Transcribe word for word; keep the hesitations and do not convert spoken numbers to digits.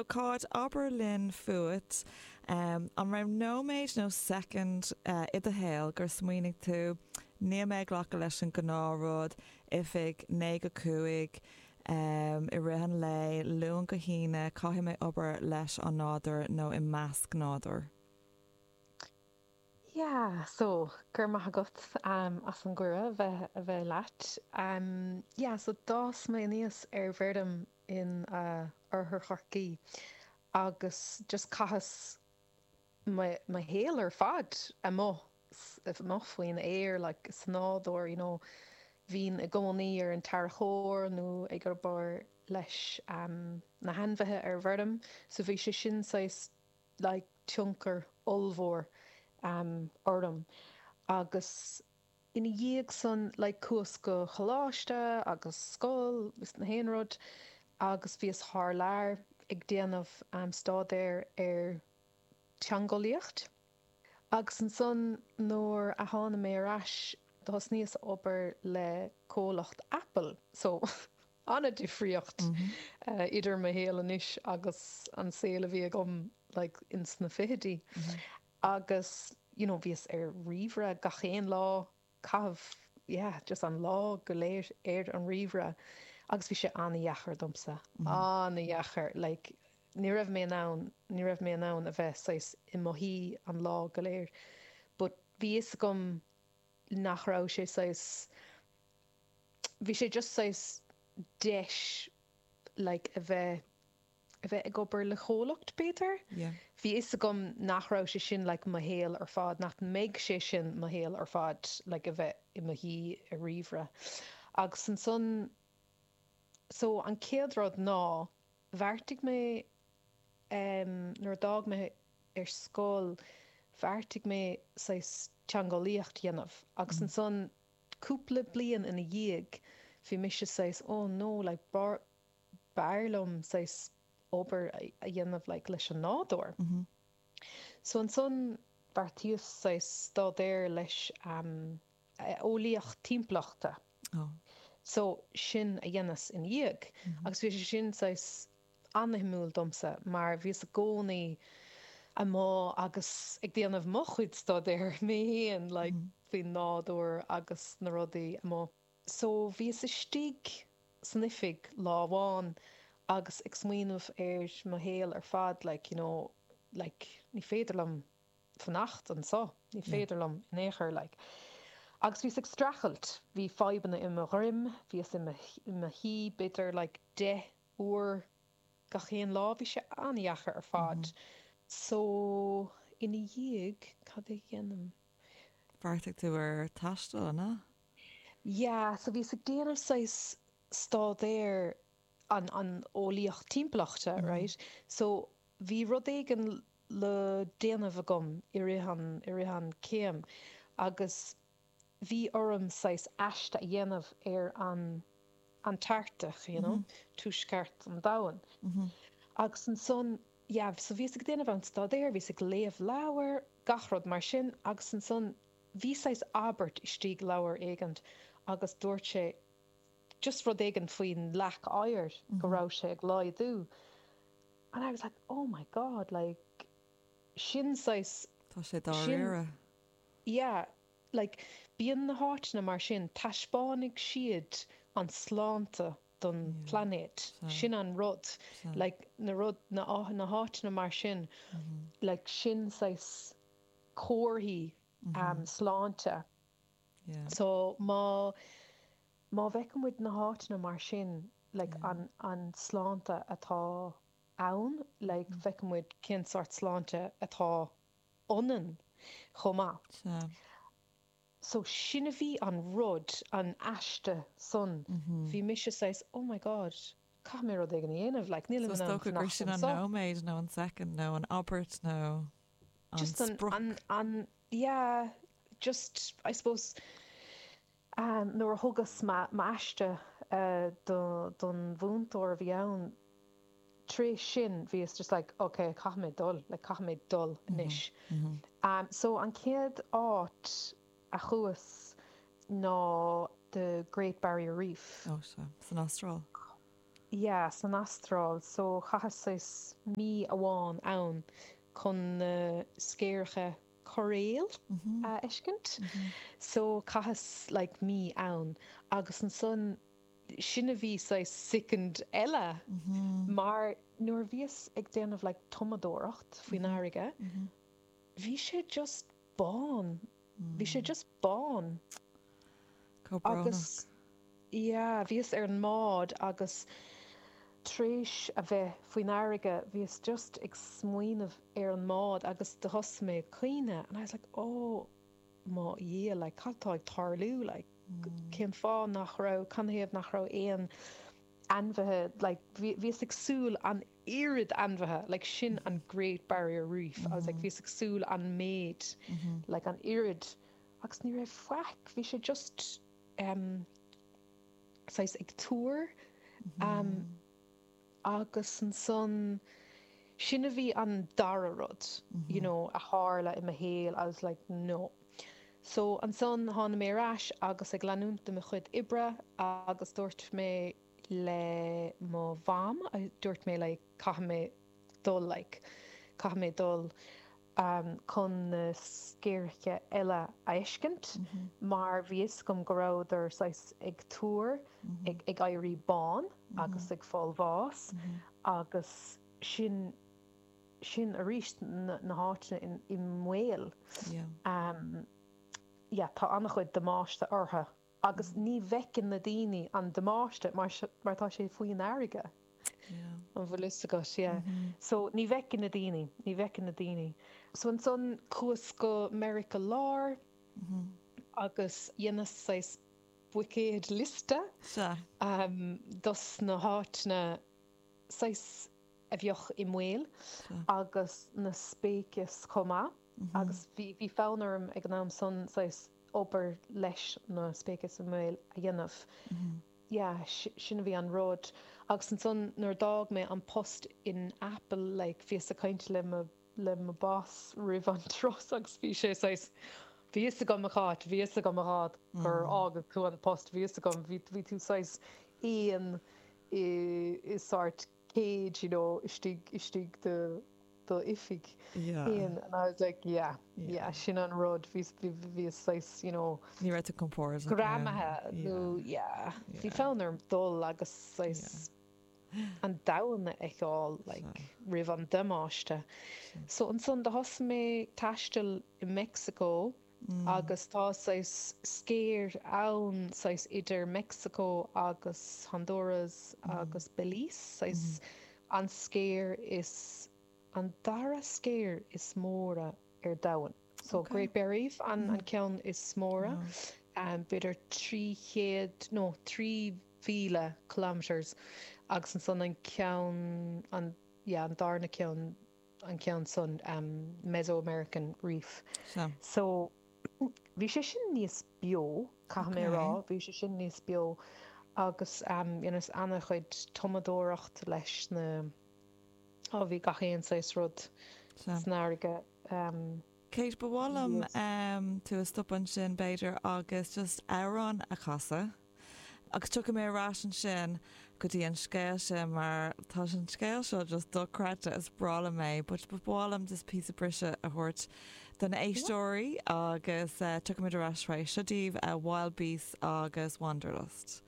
Cáit, abair linn fút um, an raibh nóiméad nó soicind uh, i do shaol gur smaoinigh tú níl mé ag glacadh leis an ngnáthrud oifig naoi go cúig um, i rith an lae Luan go hAoine caithfidh mé obair leis an nádúr nó i measc nádúr. Yeah, so gur maith agat um, as an gcuireadh bheith a bheith leat. Um, yeah, so d'fhás mé aníos ar bhfeirm in uh, Oirthear Chorcaí agus just chaitheas mo shaol ar fad amuigh amuigh faoin aer like sa nádúr you know bhínn i gcónaí ar an tarracóir nó ag obair leis um, na hainmhithe ar bhfeirm, so bhí sé sin saghas like tionchar ollmhór um, orm agus ina dhiaidh san like chuas go coláiste agus scoil is na haon rud agus bhíos thar lear ag déanamh um, staidéar ar teangeolaíocht. Agus ansan nuair a tháinig mé ar ais thosnaíos obair le comhlacht Apple, so an-difríocht mm -hmm. uh, idir mo shaol anois agus an saol a bhí agam like, ins na fichidí. Mm -hmm. Agus you know, bhíos ar ríomhaire gach aon lá caitheamh yeah, just an lá go léir ar an ríomhaire agus bhí sé an-deacair domsa mm -hmm. an-deacair like, ní raibh mé ann ní raibh mé ann a bheith saghas i mo shuí an lá go léir. But bhí fhios agam nach raibh sé saghas bhí sé just saghas deis like, a bheith a bheith ag obair le comhlacht b'fhéidir. Yeah. Bhí fhios agam nach raibh sé sin like, mo shaol ar fad, nach mbeidh sé sin mo shaol ar fad like, a bheith i mo shuí ar ríomhaire. Agus ansan so an chéad rud ná bheartaigh mé um, nuair a d'fhág mé ar scoil bheartaigh mé saghas teangeolaíocht dhéanamh agus mm. ansan cúpla bliain ina dhiaidh bhí mise saghas oh no like bar b'fhearr liom saghas obair a dhéanamh like, leis an nádúr. Mm -hmm. So ansan bheartaíos saghas staidéar leis um, eolaíocht timpeallachta. Oh. So sin a dhéanas in dhiaidh mm -hmm. agus bhí sé sin saghas an-shuimiúil domsa mar bhíos i gcónaí amuigh agus ag déanamh mo chuid staidéir mé féin like, mm -hmm. faoin nádúr agus na rudaí amuigh. So bhíos istigh san oifig lá amháin agus ag smaoineamh ar mo shaol ar fad like, you know, like, ní féidir liom fanacht anseo, ní féidir liom in aon chor like. Agus bhíos ag streachailt, bhí fadhbanna i mo dhroim, bhíos i mo shuí b'fhéidir like, deich uair gach aon lá bhí sé an-deacair ar fad. Mm -hmm. So ina dhiaidh cad a dhéanaim. Bheartaigh tú ar taisteal ná? Yeah, so bhíos ag déanamh saghas staidéar an an eolaíocht timpeallachta, mm -hmm. right? So bhí rud éigin le déanamh agam i rith an i rith an céim agus bhí orm saghas aiste a dhéanamh ar an Antartach, you know, mm -hmm. tuaisceart an domhain. Mm -hmm. Agus ansan yeah, so bhíos ag déanamh an staidéar, bhíos ag léamh leabhar, gach rud mar sin, agus ansan bhí saghas abairt istigh leabhar éigin agus dúirt sé just rud éigin faoin leac oighir mm -hmm. go raibh sé ag laghdú. And I was like, oh my god, like sin saghas Tá sé dáiríre. Yeah, like bíonn na háiteanna mar sin taispeánfaidh siad an sláinte don yeah. planet so, sin an rud so. like na rud na na háiteanna mar sin mm -hmm. like sin saghas comharthaí mm -hmm. um, sláinte yeah. so má má fheiceann muid na háiteanna mar sin like yeah. an an sláinte atá ann like mm. feiceann muid cén sórt sláinte atá ionainn chomh maith so. So sin a bhí an rud an aiste san mm -hmm. bhí mise saghas oh my god caithfidh mé rud éigin a dhéanamh like níl so gur sin an nóiméad nó an second nó an abairt nó an just an, an, an yeah just I suppose um, nuair a thugas m'aiste uh, do, don mhúinteoir a bhí ann tar éis sin bhíos just like okay caithfidh mé dul like caithfidh mé dul anois mm -hmm. um, so an chéad áit a chuas ná the Great Barrier Reef oh, so san Astráil Yeah, san Astráil, so chaitheas saghas mí amháin ann chun na scéireacha coiréil a fheiscint. So chaitheas like mí ann agus ansan sin a bhí saghas soicind eile mar nuair a bhíos ag déanamh like tumadóireacht faoin fharraige, bhí sé just bán. Bhí sé just bán. Chomh brónach. Agus yeah, bhíos ar an mbád agus tar éis a bheith faoin fharraige, bhíos just ag smaoineamh ar an mbád agus do thosaigh mé ag caoineadh and I was like oh mo Dhia, like cad tá ag tarlú, like cén fáth nach raibh, canathaobh nach raibh aon ainmhithe, like bhíos ag súil an oiread ainmhithe, like sin an Great Barrier Reef, I was like bhíos ag súil an méid, like an oiread agus ní raibh faic, bhí sé just um, saghas ag tuar um, agus ansan sin a bhí an dara rud, you know, a tharla i mo shaol, I was like no. So ansan tháinig mé ar ais agus ag leanúint de mo chuid oibre agus dúirt mé le mo mham, dúirt mé like caithfidh mé dul like caithfidh mé dul um, chun na scéireacha eile a fheiscint mar bhí fhios agam go rabhadar saghas ag tuar ag, ag éirí bán agus ag fáil bháis agus sin sin arís na, na háiteanna in, i mbaol. Yeah. Um, yeah, tá an-chuid damáiste orthu agus ní bhfeiceann na daoine an damáiste mar, mar tá sé faoin fharraige. Yeah. An bhfuil fhios agat, yeah. So ní bhfeiceann na daoine, ní bhfeiceann na daoine. So ansan chuas go Meiriceá Láir agus dhéanas saghas buicéad liosta Sea. um, dos na háiteanna saghas a bheadh i mbaol Sea. agus na speicis chomh maith agus bhí bhí fonn orm ag an am san saghas obair leis na speicis i mbaol a dhéanamh. Yeah, sin a bhí an rud. Agus ansan nuair a d'fhág mé an post in Apple like bhíos ag caint le mo le mo boss roimh an turas agus bhí sé saghas bhí fhios agam a Cháit, bhí fhios agam a Cháit gur fhág tú an post, bhí fhios agam, bhí bhí tú saghas éan i i sort cage, you know, istigh istigh de do oifig Yeah. éan and I was like yeah, Yeah. yeah, sin an rud bhí bhí bhí saghas, you know, Ní raibh tú compordach ann. greamaithe nó yeah, bhí Yeah. fonn orm dul agus saghas an domhan a fheiceáil like roimh an damáiste. So ansan do thosaigh mé taisteal i Mexico agus tá saghas sceir ann saghas idir Mexico agus Honduras agus Belize, saghas an sceir is an dara sceir is móra ar domhan. So Okay. Great Barrier Reef an an ceann is móra, um, b'fhéidir trí chéad nó trí mhíle kilometers agus ansan an ceann an yeah, an darna ceann an ceann san um, Mesoamerican Reef. Sea. So bhí sé sin níos beo caithfidh mé Okay. rá, bhí sé sin níos beo agus um, dhéanas an-chuid tumadóireacht leis na ó bhí gach aon saghas rud Sea. san fharraige. Um, Kate, ba mhaith liom Yes. um, tú a stop ansin b'fhéidir agus just amhrán a chasadh. Agus tiocfaidh mé ar ais ansin go dtí an scéal sin mar tá an scéal seo just dochreidte is breá liom é, but ba mhaith liom just píosa briseadh a thabhairt don éisteoirí agus uh, tiocfaimid ar ais. Seo daoibh uh, Wild Beasts agus Wanderlust.